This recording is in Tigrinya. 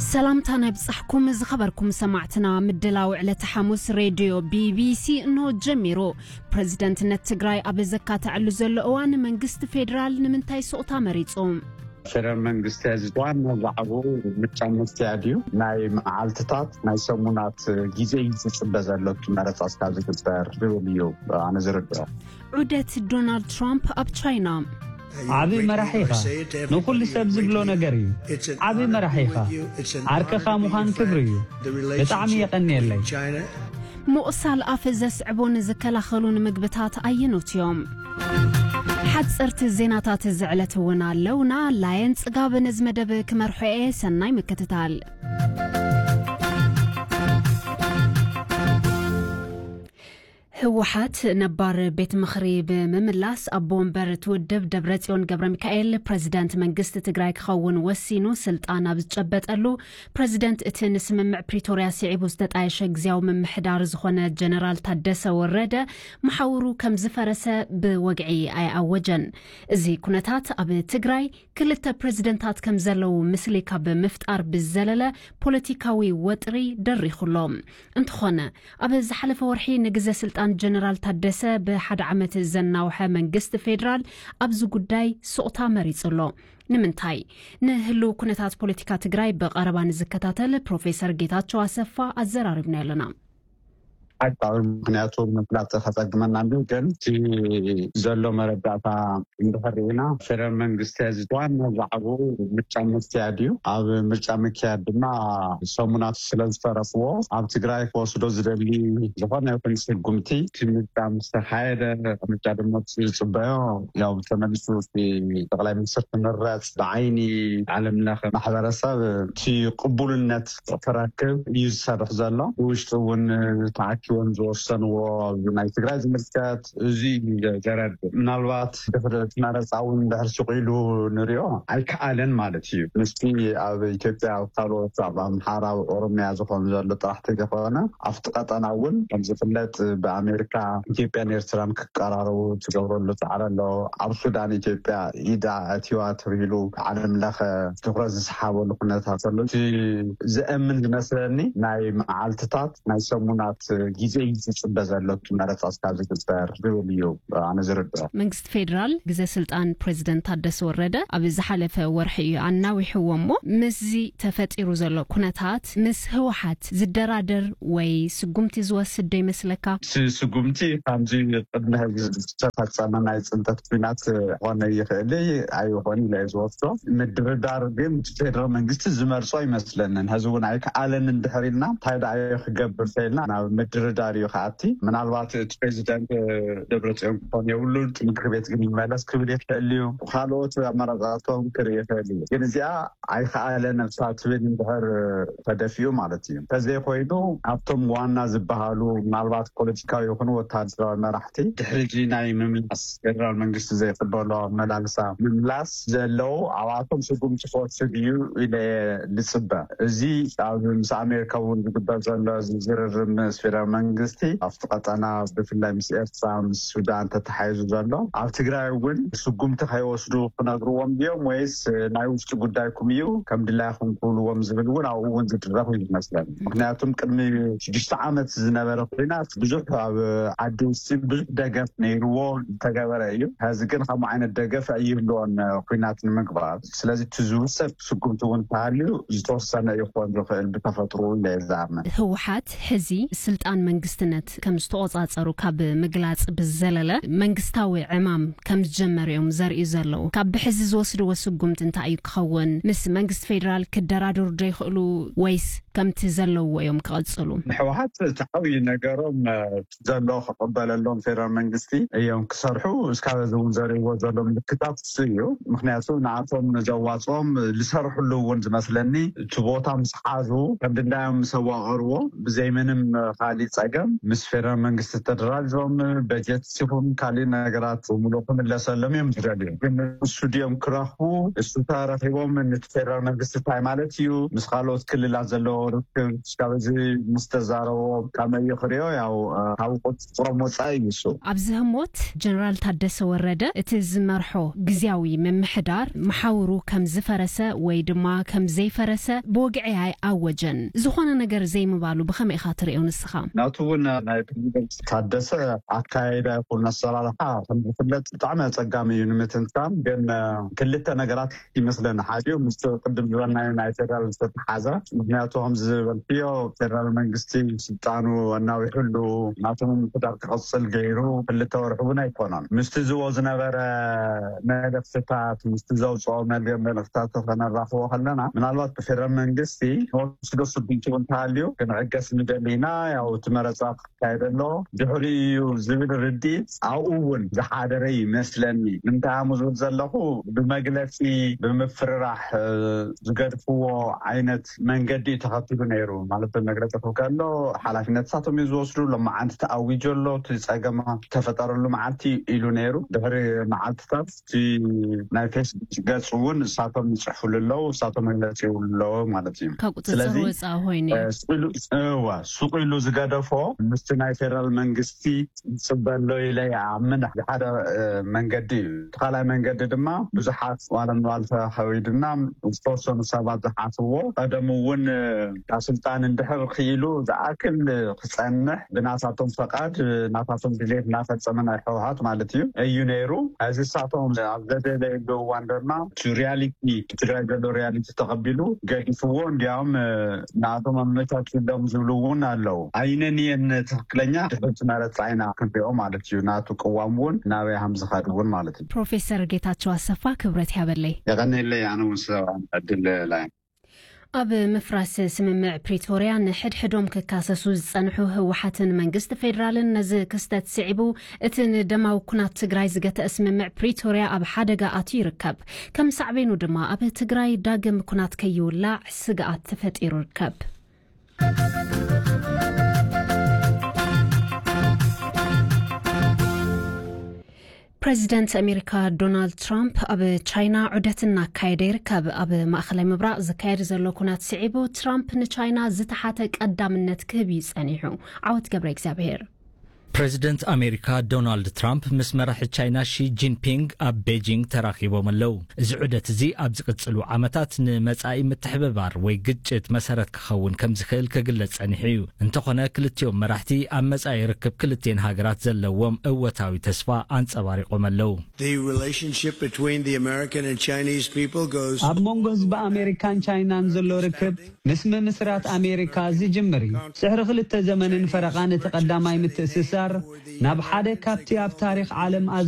ሰላምታ ናይ ብጻሕኩም ዝኸበርኩም ሰማዕትና። ምድላው ዕለተ ሓሙስ ሬድዮ ቢቢሲ እንሆ ጀሚሩ። ፕረዚደንትነት ትግራይ ኣብ ዘካተዐሉ ዘሎ እዋን፣ መንግስቲ ፌዴራል ንምንታይ ሱቕታ መሪጹ? ፌደራል መንግስቲ፣ እዚ ዋና ዛዕባኡ ምርጫ ምክያድ እዩ። ናይ መዓልትታት፣ ናይ ሰሙናት ግዜ እዩ ዝጽበ ዘሎ፣ እቲ መረጻ እስካብ ዝግበር ዝብል እዩ ኣነ ዝርድኦ። ዑደት ዶናልድ ትራምፕ ኣብ ቻይና። ዓቢ መራሒ ኢኻ። ንኹሉ ሰብ ዝብሎ ነገር እዩ። ዓቢ መራሒ ኢኻ። ዓርክኻ ምዃን ክብሪ እዩ። ብጣዕሚ የቐንየለይ። ምቑሳል ኣፍ ዘስዕቡን ዝከላኸሉን ምግብታት ኣየኖት እዮም? ሓጸርቲ ዜናታት እዚ ዕለት እውን ኣለውና። ላየን ጽጋብ ነዚ መደብ ክመርሖ እየ። ሰናይ ምክትታል። ህወሓት ነባር ቤት ምኽሪ ብምምላስ፣ ኣቦ ወንበር እቲ ውድብ ደብረጽዮን ገብረ ሚካኤል ፕረዚደንት መንግስቲ ትግራይ ክኸውን ወሲኑ ስልጣን ኣብ ዝጨበጠሉ፣ ፕረዚደንት እቲ ንስምምዕ ፕሪቶርያ ስዒቡ ዝተጣየሸ ግዝያዊ ምምሕዳር ዝኾነ ጀነራል ታደሰ ወረደ መሓውሩ ከም ዝፈረሰ ብወግዒ ኣይኣወጀን። እዚ ኩነታት ኣብ ትግራይ ክልተ ፕረዚደንታት ከም ዘለዉ ምስሊ ካብ ምፍጣር ብዘለለ ፖለቲካዊ ወጥሪ ደሪኹ ኣሎ። እንተኾነ፣ ኣብ ዝሓለፈ ወርሒ ንግዘ ስልጣን ጀነራል ታደሰ ብሓደ ዓመት ዘናውሐ መንግስቲ ፌዴራል ኣብዚ ጉዳይ ሱቕታ መሪጹ ኣሎ። ንምንታይ? ንህልው ኩነታት ፖለቲካ ትግራይ ብቐረባ ንዝከታተል ፕሮፌሰር ጌታቸው ኣሰፋ ኣዘራሪብና ኣለና። ሓቃዊ ምኽንያቱ ምፍላጥ ከጸግመና እንድዩ፣ ግን እቲ ዘሎ መረዳእታ እንድሕር ርኢና፣ ፌደራል መንግስቲ እዚ ዋና ዛዕባኡ ምርጫ ምክያድ እዩ። ኣብ ምርጫ ምክያድ ድማ ሰሙናት ስለ ዝተረፍዎ፣ ኣብ ትግራይ ክወስዶ ዝደሊ ዝኾነ ይኹን ስጉምቲ፣ እቲ ምርጫ ምስ ተኻየደ፣ ምርጫ ድማ ዝጽበዮ፣ ያው ተመሊሱ እቲ ጠቕላይ ሚኒስትር ክምረጽ፣ ብዓይኒ ዓለም ለኸ ማሕበረሰብ እቲ ቅቡልነት ክረክብ እዩ ዝሰርሕ ዘሎ። ብውሽጢ እውን ተኣኪቦም ዝወሰንዎ፣ ኣብ ናይ ትግራይ ዝምልከት፣ እዚ እዩ ዘረድእ። ምናልባት ድሕሪ እቲ መረፃ እውን ድሕሪ ስቕ ኢሉ ንሪኦ ኣይከኣለን ማለት እዩ። ምስቲ ኣብ ኢትዮጵያ፣ ኣብ ካልኦት፣ ኣብ ኣምሓራ፣ ኣብ ኦሮሚያ ዝኾን ዘሎ ጥራሕ ተዘይኮነ፣ ኣብቲ ቀጠና እውን ከም ዝፍለጥ ብኣሜሪካ ኢትዮጵያን ኤርትራን ክቀራረቡ ትገብረሉ ፃዕሪ ኣሎ። ኣብ ሱዳን ኢትዮጵያ ኢዳ ኣትዋ ተባሂሉ ዓለም ለኸ ትኹረት ዝሰሓበሉ ኩነታት ኣሎ። እቲ ዘእምን ዝመስለኒ ናይ መዓልትታት ናይ ሰሙናት ግዜ እዩ ዝፅበ ዘሎ፣ እቲ መረፃ እስካብ ዝግበር ዝብል እዩ ኣነ ዝርድኦ። መንግስቲ ፌዴራል ግዘ ስልጣን ፕሬዚደንት ታደሰ ወረደ ኣብ ዝሓለፈ ወርሒ እዩ ኣናዊሕዎ እሞ፣ ምስዚ ተፈጢሩ ዘሎ ኩነታት ምስ ህወሓት ዝደራደር ወይ ስጉምቲ ዝወስድ ዶ ይመስለካ? እቲ ስጉምቲ ከምዚ ቅድሚ ሕዚ ዝተፈፀመ ናይ ፅንተት ኲናት ክኾነ ይኽእል ኣይኾን ኢለ እየ ዝወስዶ። ምድርዳር ግን ፌደራል መንግስቲ ዝመርጾ ኣይመስለንን። ሕዚ እውን ኣይከኣለን እንድሕር ኢልና እንታይ ደኣ ክገብር ተኢልና ናብ ምድርዳር እዩ ክኣቲ። ምናልባት እቲ ፕሬዚደንት ደብረጽዮን ክኾን የብሉን፣ ምክር ቤት ግን ይመለስ ክብል ይኽእል እዩ። ካልኦት ኣመራርጻታቶም ክርኢ ይኽእል እዩ። ግን እዚኣ ኣይከኣለን እሳ ትብል እንድሕር ተደፊኡ ማለት እዩ። እንተዘይኮይኑ ኣብቶም ዋና ዝበሃሉ ምናልባት ፖለቲካዊ ይኹኑ ወታደራዊ መራሕቲ ድሕሪ እዚ ናይ ምምላስ ፌደራል መንግስቲ ዘይቅበሎ ኣመላልሳ ምምላስ ዘለዉ ኣብኣቶም ስጉምቲ ክወስድ እዩ ኢለ እየ ዝፅበ። እዚ ኣብ ምስ ኣሜሪካ እውን ዝግበር ዘሎ እዚ ዝርርብ ምስ ፌደራል መንግስቲ ኣብቲ ቀጠና ብፍላይ ምስ ኤርትራ ምስ ሱዳን ተተሓሒዙ ዘሎ ኣብ ትግራይ እውን ስጉምቲ ከይወስዱ ክነግርዎም ድዮም ወይስ ናይ ውሽጢ ጉዳይኩም እዩ ከም ድላይኹም ክብልዎም ዝብል እውን ኣብኡ እውን ዝድረኽ እዩ ዝመስለኒ። ምክንያቱም ቅድሚ ሽዱሽተ ዓመት ዝነበረ ኩናት ብዙሕ ኣብ ዓዲ ውስጥ ብዙሕ ደገፍ ነይርዎ ዝተገበረ እዩ። ሕዚ ግን ከምኡ ዓይነት ደገፍ ኣይህልዎን ኩናት ንምግባር። ስለዚ እቲ ዝውሰድ ስጉምቲ እውን ተሃልዩ ዝተወሰነ ይኾን ዝኽእል ብተፈጥሮ ኢለ እየ ዝኣምን። ህወሓት ሕዚ ስልጣን መንግስትነት ከም ዝተቆጻጸሩ ካብ ምግላጽ ብዘለለ መንግስታዊ ዕማም ከም ዝጀመሩ እዮም ዘርእዩ ዘለዉ። ካብ ብሕዚ ዝወስድዎ ስጉምቲ እንታይ እዩ ክኸውን? ምስ መንግስቲ ፌዴራል ክደራደሩ ዶ ይኽእሉ ወይስ ከምቲ ዘለውዎ እዮም ክቐጽሉ? ንሕወሓት እቲ ዓብዪ ነገሮም ዘሎ ክቕበለሎም ፌደራል መንግስቲ እዮም ክሰርሑ እስካብ እዚ እውን ዘርእዎ ዘሎ ምልክታት እሱ እዩ። ምክንያቱ ንኣቶም ዘዋፅኦም ዝሰርሕሉ እውን ዝመስለኒ እቲ ቦታ ምስ ሓዙ ከም ድላዮም ምስ ኣዋቐርዎ ብዘይ ምንም ካሊእ ፀገም ምስ ፌደራል መንግስቲ ተደራዲሮም በጀት ይኹን ካሊእ ነገራት ብምሉእ ክምለሰሎም እዮም ዝደልዩ። ግን እሱ ድዮም ክረኽቡ እሱ ተረኺቦም ፌደራል መንግስቲ እንታይ ማለት እዩ፣ ምስ ካልኦት ክልላት ዘለዎ ርክብ፣ እስካብ እዚ ምስ ተዛረቦ ከመይ እዩ ክሪኦ፣ ያው፣ እ፣ ካብ ቁፅፅሮም ወፃኢ እዩ እሱ። ኣብዚ ህሞት ጀነራል ታደሰ ወረደ እቲ ዝመርሖ ግዝያዊ ምምሕዳር መሓውሩ ከም ዝፈረሰ ወይ ድማ ከም ዘይፈረሰ ብወግዒ ኣይኣወጀን። ዝኾነ ነገር ዘይምባሉ ብኸመይ ኢኻ ትሪኦ ንስኻ? ናቱ እውን ናይ ፕሬዚደንት ታደሰ ኣካያይዳ ይኹን ኣሰራርሓ ከም ዝፍለጥ ብጣዕሚ ኣጸጋሚ እዩ ንምትንታን። ግን፣ እ፣ ክልተ ነገራት ይመስለኒ። ሓዲኡ ምስ ቅድም ዝበልናዮ ናይ ፌደራል ዝተተሓዘ፣ ምክንያቱ ከምዚ ዝበልክዮ ፌደራል መንግስቲ ስልጣኑ ኣናዊሑሉ ናቶም ምምሕዳር ክቐጽል ገይሩ ክልተ ወርሒ እውን ኣይኮነን። ምስቲ ዝዎ ዝነበረ መልእኽትታት፣ ምስቲ ዘውፅኦ መል-፣ መልእኽትታት ከነራኽቦ ከለና፣ ምናልባት ብፌደራል መንግስቲ ንወስዶ ስጉምቲ እውን እንተሃልዩ፣ ክንዕገስ ንደሊ ኢና፣ ያው እቲ መረፃ ክካየድ ኣሎ፣ ድሕሪ እዩ ዝብል ርድኢት ኣብኡ እውን ዝሓደረ ይመስለኒ። ንምንታይ ኣሙ ዝብል ዘለኹ፣ ብመግለፂ፣ ብምፍርራሕ፣ እ፣ ዝገድፍዎ ዓይነት መንገዲ እዩ ተኸቲሉ ነይሩ። ማለት ብመግለፂ ክብል ከሎ፣ ሓላፍነት ንሳቶም እዩ ዝወስዱ። ሎማዓንቲ ተኣዊጁ ኣሎ፣ እቲ ፀገም ተፈጠረሉ መዓልቲ ኢሉ ነይሩ። ድሕሪ መዓልትታት እቲ ናይ ፌስቡክ ገፅ እውን ንሳቶም ይፅሕፉሉ ኣለዉ፣ ንሳቶም መግለፂ ይብሉ ኣለዉ ማለት እዩ። ካብ ቁፅፅር ስለዚ፣ ወፃኢ ኮይኑ እዩ። እ፣ ስቕ ኢሉ፣ እዋ፣ ስቕ ኢሉ ዝገደፎ ምስቲ ናይ ፌደራል መንግስቲ ዝፅበ ኣሎ ኢለ ይኣምን። ሓደ፣ እ፣ መንገዲ እዩ። እቲ ካልኣይ መንገዲ ድማ ብዙሓት ዋላ ንዋልታ ከዊድና ዝተወሰኑ ሰባት ዝሓስብዎ፣ ቀደም እውን፣ እ፣ ካብ ስልጣን እንድሕር ክኢሉ ዝኣክል ክጸንሕ ብናታቶም ፈቃድ፣ እ፣ ናታቶም ድሌት እናፈጸመ ናይ ህወሓት ማለት እዩ፣ እዩ ነይሩ። እዚ ንሳቶም ኣብ ዘደለየሉ እዋን ድማ እቲ ሪያሊቲ፣ ትግራይ ዘሎ ሪያሊቲ ተቐቢሉ ገዲፍዎ፣ እንዲያውም፣ እ፣ ንኣቶም ኣመቻችሎም ዝብሉ እውን ኣለዉ። ኣይነን እየን ትኽክለኛ ድሕርቲ መረፃ ኢና ክንሪኦ ማለት እዩ። ናቱ ቅዋም እውን ናበይ ሃም ዝኸድ እውን ማለት እዩ። ፕሮፌሰር ጌታቸው ኣሰፋ ክብረት ያበለይ። የቐንየለይ፣ ኣነ እውን ሰብኣን ዕድል ላይ ኣብ ምፍራስ ስምምዕ ፕሪቶርያ ንሕድሕዶም ክካሰሱ ዝጸንሑ ህወሓትን መንግስቲ ፌዴራልን ነዚ ክስተት ስዒቡ እቲ ንደማዊ ኩናት ትግራይ ዝገተአ ስምምዕ ፕሪቶርያ ኣብ ሓደጋ ኣትዩ ይርከብ። ከም ሳዕቤኑ ድማ ኣብ ትግራይ ዳግም ኩናት ከይውላዕ ስግኣት ተፈጢሩ ይርከብ። ፕሬዚደንት ኣሜሪካ ዶናልድ ትራምፕ ኣብ ቻይና ዑደት እናካየደ ይርከብ። ኣብ ማእኸላይ ምብራቕ ዝካየድ ዘሎ ኩናት ስዒቡ ትራምፕ ንቻይና ዝተሓተ ቀዳምነት ክህብ እዩ ጸኒሑ። ዓወት ገብረ እግዚኣብሔር። ፕሬዚደንት ኣሜሪካ ዶናልድ ትራምፕ ምስ መራሒ ቻይና ሺ ጂንፒንግ ኣብ ቤጂንግ ተራኺቦም ኣለዉ። እዚ ዑደት እዚ ኣብ ዝቕጽሉ ዓመታት ንመጻኢ ምትሕብባር ወይ ግጭት መሰረት ክኸውን ከም ዝኽእል ክግለጽ ጸኒሑ እዩ። እንተኾነ ክልቲኦም መራሕቲ ኣብ መጻኢ ርክብ ክልቲኤን ሃገራት ዘለዎም እወታዊ ተስፋ ኣንጸባሪቖም ኣለዉ። The relationship between the American and Chinese people goes ኣብ መንጎ ህዝቢ ኣሜሪካን ቻይናን ዘሎ ርክብ ምስ ምምስራት ኣሜሪካ ዝጅምር እዩ። ድሕሪ ክልተ ዘመንን ፈረቓን እቲ ቀዳማይ ምትእስሳር ናብ ሓደ ካብቲ ኣብ ታሪኽ ዓለም